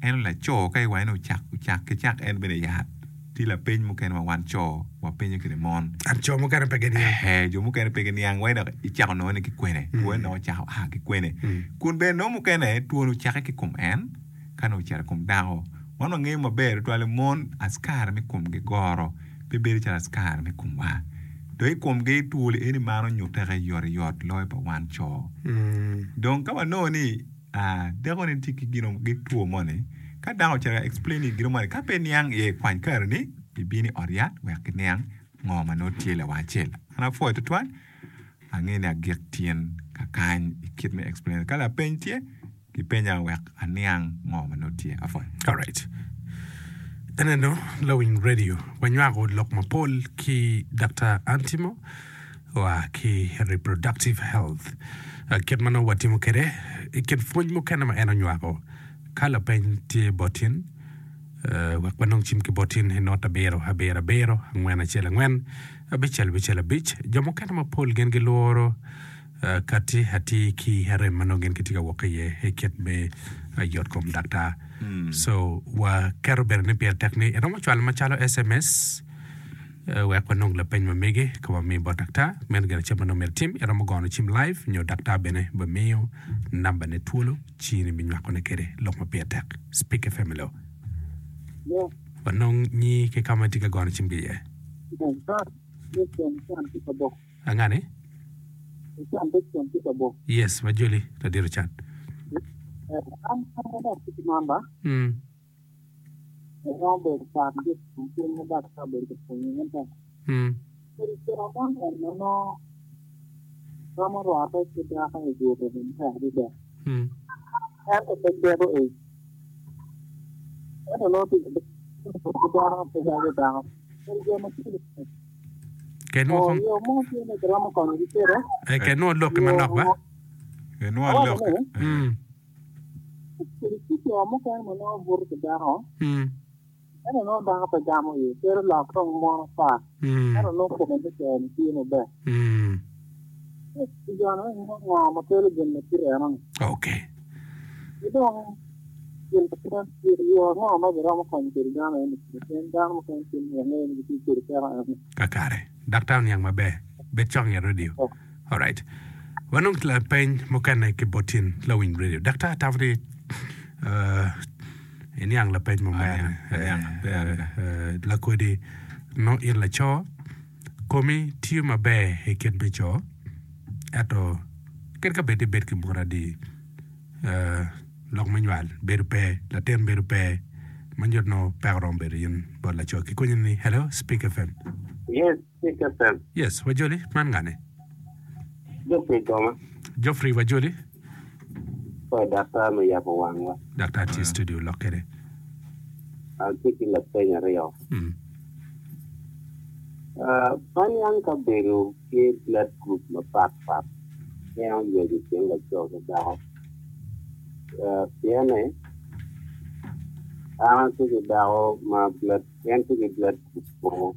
Ento laco ka iwaco ni ocak ocak ki cak en bene yat, tye lapeny mukene ma wan co wapenyo kwede mon. And co mukene pe giniang. Ee, jo mukene pe giniang wai dok icako nongo ni ki kwene, twone dok ocako a ki kwene. Kun bene nongo mukene twone ocakke ki kom en ka nongo ocito i kom dako. Wan wangeyo maber tutwal ni mon askari me komgi goro pe bedo calo askari me komwa. Dong i komgi twol eni maro nyuteke yotoyot loyo pa wan co. Dong ka wanongo ni Dako-ni tye ki gino ki two moni, ka dako ocito ka explain gino moni ka pe niang iye kwany kareni ibin i ot yat wek kiniang ngo ma nongo tye lawang acel. An apwoyo tutwal angeyo ni agik tyen kakany i kit me explain ka lapeny tye kipenya wek aniang ngo ma nongo tye. Apwoyo. Alright. Eneno lawiny radio wanywako lok mapol ki Daktar Antimo. wa ki reproductive health. Kit ma nongo watimo kwede i kin pwony mukene ma en onywako, ka lapeny tye bot in, wek wanong cim ki bot in i not abiro abiro abiro angwen acel angwen abicel abicel abic. Jo mukene mapol gin gilworo kati atir ki arem ma nongo gin gitye ka wok iye i kit me yotkom daktar. So waketo bene ni pire tek ni iromo cwalo macalo SMS. Wek wanong lapeny ma mege ka wamiyo bot daktar, meno gin acel ma nongo myero itim. Iromo gono cim live nyo daktar bene bimiyo nambane twolo ci in ibinywakone kwede lok ma pire tek. Speak FM hello. Wanong nyi ki ka ma itye ka gono cim ki iye. Angani? Yes, wajoli ladit Ocan. Mm. Romo bedo pat ki i pwony ma daktar obedo ka pwonyo ento kodi co man eni ma nongo romo rwatte ki dako i buto matek adada ento pe cito ic ento nongo tye ki dako pe calo dako kadi jo ma tye yo mo tye ma kiromo konyogi kwede. Kenwo lokki manok ba. Kenwo lokki. Tye co mukene ma nongo buto ki dako, ento nongo dako pe gamo iye, cito lok dong mon ata, ento nongo kome me co-ni tye maber. Ci jo-ni nongo ngo ma kelo gin ma kite eno-ni? Ki dong gin ma kite yo ango ma giromo konyo kwede dano eni pien dano mukene tye ma wangeyo ni gitye kwede peko eno-ni. Kakare. Daktar oniang maber. Bed cok nget radio. Alright. Wanong lapeny mukene ki bot in lawiny radio. Daktar atamo ni uh, iniang lapeny mo mere. Aniang, aniang maber adada. Uh, lakodi no in laco komi tiyo maber i kit me co ento kadi ka bed ni ibed ki mon adi uh, lok me nywal bedo pe latin bedo pe ma nyuto nongo peko romo bedo in bot laco ki konyi ni hello speak fm Yes, Speak FM. Yes, wajoli, man ngane? Geoffrey Goma. Geoffrey wajoli. Pwoyo daktar me yabo wangwa. Daktar tye i studio lok kede. Atye ki lapeny aryo. Mm. Uh, aniang ka bedo tye blood group mapat pat en oywec i kin laco ki dako. Uh, pienne an atye ki dako ma blood en tye ki blood group O.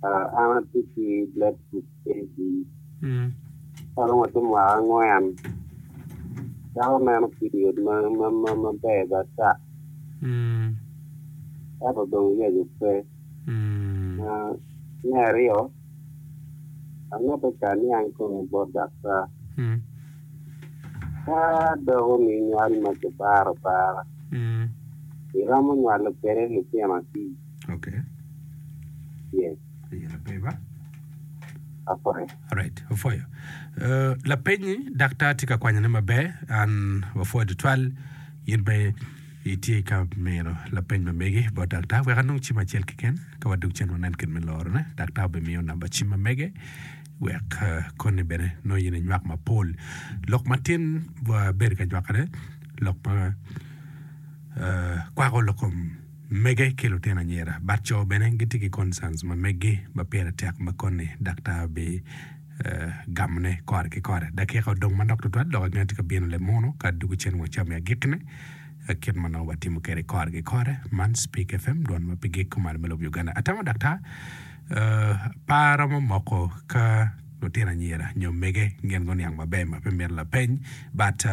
An atye ki blood group AB. Ka dong watye mwaka angwen, dako neno period maber ata ento dong yaco pe. Me aryo, amito ca aniang kong bot daktar, ka dako-ni nywal ma kibaro abara, iromo nywalo kwede lutino adi? Okay. Yes. Aye lapeny ba. Apwoyo. Alright, apwoyo. Uh, lapenyi daktar tye ka kwanyone maber. An wapwoyo tutwal in pe itye ka mino lapeny ma megi bot daktar. Wek anong cim acel keken ka wadog cen wanen kit me lorone. Daktar obimiyo namba cim ma mege wek uh, koni bene nongo in inywak mapol. Lok matin wabedo ka nywakone lok ma uh, kwako lok kom Mege ki lutino anyira but co bene gitye ki concerns ma meggi ma pire tek ma koni daktar bi gamo ne kore ki kore. Dakika odong manok tutwal dok angeyo tye ka bino lemono ka dugo cen wa cam i agikine kit ma nongo watimo kwede kore ki kore. Man Speak FM dwon ma pe gik kumalo me lobo Uganda. Atamo daktar pe aromo moko ka lutino anyira nyo mege gin guniang maber ma pe mito lapeny but.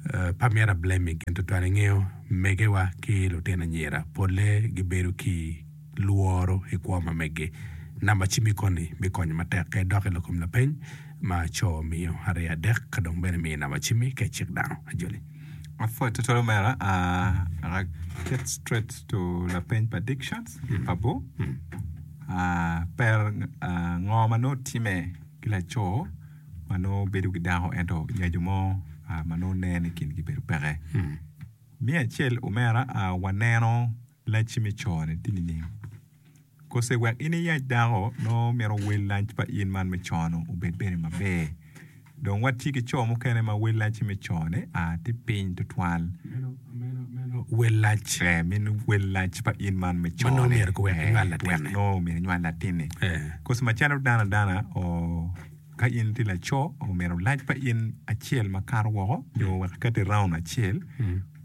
Pe amito a blaming gin tutwal ingeyo megewa ki lutino anyira polle gibedo ki lworo i kwo ma meggi. Namba cimmi koni bikonyo matek ka idok i lok kom lapeny ma co omiyo aryo adek ka dong bene imiyo namba cimmi ka icik dano. Ajoli. Apwoyo tutwal omera, I get straight to lapeny pa addictions pa bur. Per ngo ma nongo time ki laco ma nongo bedo ki dako ento nyaco mo ma nongo nen i kingi bedo peke. Me acel omera waneno lacci me co-ni tye nining? Kose wek in iyac dako nongo mito wel lac pa in man me co-nu obed bene maber. Dong watye ki co mukene ma wel lacci me co-ni tye piny tutwal. Meno wel lac. Ee, meno wel lac pa in man me Ma nongo co-ni. myero wek inywal Wek latinni. nongo myero inywal latinni. Ee. Kose macalo dano adana, oo, ka in itye laco, omyero lac pa in acel makato woko nyo wek iket i round acel,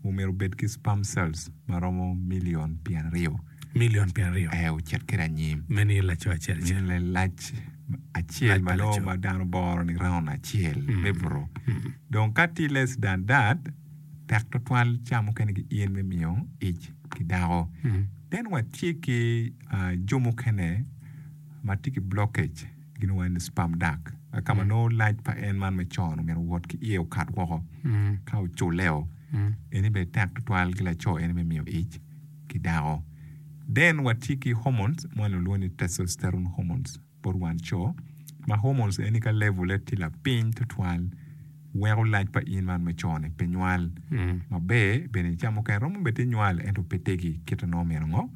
omyero obed ki sperm cells ma romo milion pyeraryo. Milion pyeraryo. Ee, ocit kwede anyim. Meno aye laco acel acel. Meno aye lac acel ma nongo ma dano boro ni round acel me buto. Dong ka tye less than that, tek twatwal ca mukene ki in me miyo ic ki dako. Then watye ki jo mukene ma tye ki blockage gin waco ni sperm duct ka ma nongo lac pa en man me con myero owot ki iye okat woko ka oculle-o eni bene tek twatwal ki laco eni me miyo ic ki dako. Then watye ki hormones ma walwongo ni testosterone hormones bot wan co ma hormones eni ka level ne tye lapiny tutwal weko lac pa in man me co ni pe nywal maber bene ca mukene romo bed ni nywal ento pe tegi kite nongo myero ngo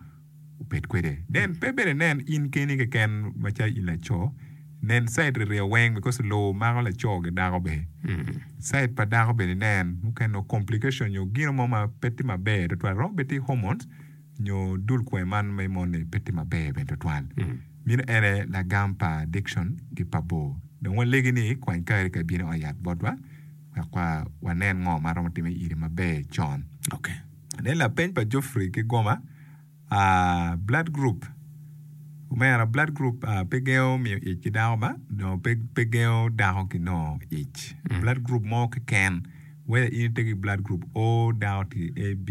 obed kwede. Then pe bene inen in keni keken macalo in laco nen side riryo weng because lowo mako laco ki dako bene side pa dako bene inen mukene nongo complication nyo gino mo ma pe tye maber tutwal romo bed tye hormones nyo dul kwer man me mon-ni pe tye maber bene tutwal. Meno en aye lagam pa addiction ki pa bor. Dong walegi ni kwany kari ka ibino i ot yat botwa wek wanen ngo ma romo timme iri maber con. Okay. Then lapeny pa Geoffrey ki Goma, ah, blood group. Omera, blood group ah, pe gengo miyo ic ki dako ba? No, pe, pe gengo dako ki nongo ic. Blood group mo keken, whether in itye ki blood group O, dako tye ki AB,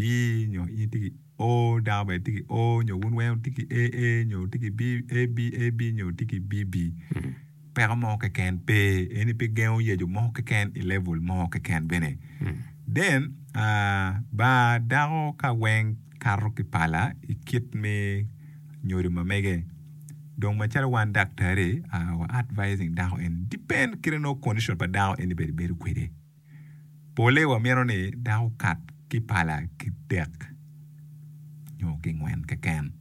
nyo in itye ki O, dako bene tye ki O, nyo wun weng wutye ki AA, nyo wutye ki B, AB, AB, nyo wutye ki BB. Peko mo keken pe, eni pe gengo yeco mo keken i level mo keken bene. Then, ah, bar dako ka weng kato ki pala i kit me nyodo ma mege. Dong macalo wan daktari, ah, wa advising dako eni, depend kite nongo condition pa dako eni bene bedo kwede. Pole wamito ni dako okat ki pala ki dek nyo ki ngwen keken.